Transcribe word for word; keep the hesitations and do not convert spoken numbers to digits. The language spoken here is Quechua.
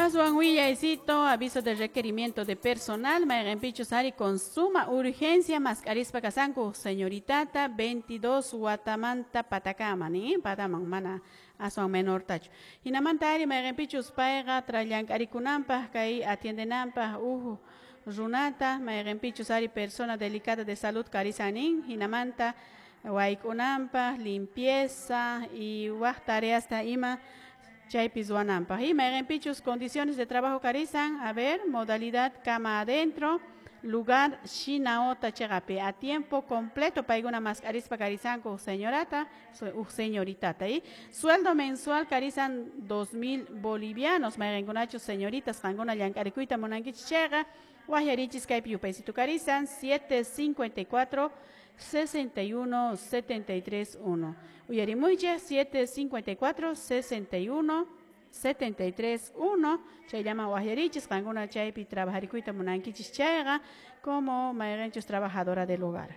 Aswan willaysito, aviso de requerimiento de personal, mayqinpichus ari con suma urgencia mask'arispa kasanku señoritata veintidós watamanta patakama ni pataman mana aswan menortachu. Hinamanta ari mayqinpichus payqa llank'arikunanpaq kay atiendenanpaq uhu runata mayqinpichus ari persona delicada de salud karisanin hinamanta wayk'unanpaq limpieza y waq tareasta ima chaypi ruwananpaq. Y mayqinpichus condiciones de trabajo karisan, a ver, modalidad cama adentro, lugar Shinaota cheqapi a tiempo completo paykuna mask'arispa karisanku señorata uj señoritata y sueldo mensual karisan dos mil bolivianos. Mayqinkunachus señoritas qankuna llank'arikuyta munankichis chayqa waqyarichis kaypi yupaysitu karisan siete cincuenta y cuatro sesenta y uno setenta y tres uno. Uyarimuychik siete cincuenta y cuatro sesenta y uno setenta y tres uno. Chayllaman waqyarichis qankuna chaypi trabajarikuyta munankichis chayqa como mayqinchus trabajadora del hogar.